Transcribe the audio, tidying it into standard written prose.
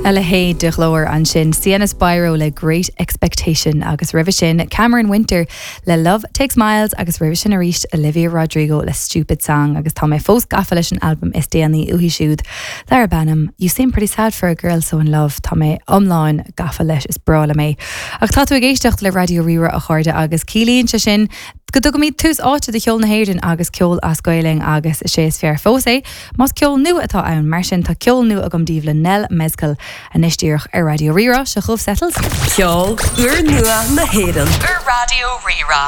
A leithéid de ghlór ansin, Sienna Spiro le Great Expectation agus roimhe sin Cameron Winter le Love Takes Miles agus roimhe sin arís Olivia Rodrigo le Stupid Song agus tá mé fós gafa leis an albam is déanaí uaithi siúd darb ainm You Seem Pretty Sad For A Girl So In Love. Tá mé iomlán gafa leis, is breá liom é. Ach tá tú ag éisteacht le Raidió Rí-Rá a chairde agus ciallaíonn sé sin go dtugaimid tús áite do cheol na hÉireann agus ceol as Gaelainn agus is é is fearr fós é Más ceol nua atá ann, mar sin tá ceol nua agam daoibh le Nell Mezcal anois díreach ar Raidió Rí-Rá, seo chugaibh Settles. Ceol úrnua na hÉireann. Ar Raidió Rí-Rá.